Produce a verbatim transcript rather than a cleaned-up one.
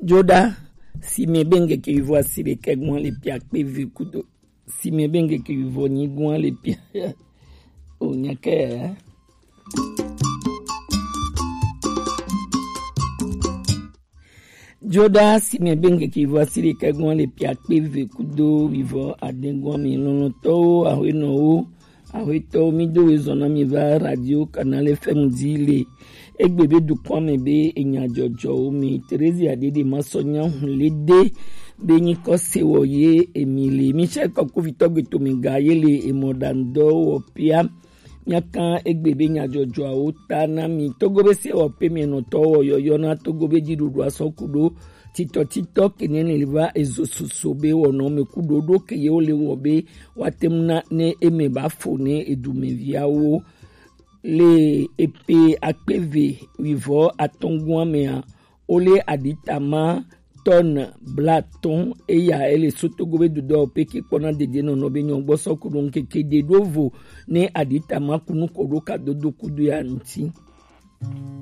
Joda, si mi be ngeke yuvo asire ke gwan le pia pe vi kudo. Si mi be ngeke yuvo ni gwan le pia. O nyake. Joda, si mi be ngeke yuvo asire ke gwan le pia pe vi kudo vivo aden gwan mi lolo to o, ahwe no o. Ahwe to mi do we zona mi va radio Canal F M di le. Egbe be dukwan mi be enya jojo o mi. Terezia Dede ma so nya hun le de. Be nyi ko se wo ye emi le. Michel Koku Vito Gbeto mi ga ye le emo dando wo pia. Nya kan egbe be nya jojo o ta na mi. Togo be se wo pe mi no to wo yo yo na Togo be di dudu aso kudo. Tito tito kene le va ezo soso be wo no me kudo do ke ye o le wo be wa tem na ne eme ba fo ne edu me via wo. Le epe akpeve wivo atongwan me a. Ole aditama ton blaton eya ele sotogo be dudo pe ki kpona dede no no be nyongbo so kudo nkeke de do vo ne aditama kunu kodo ka dodo kudo ya nti.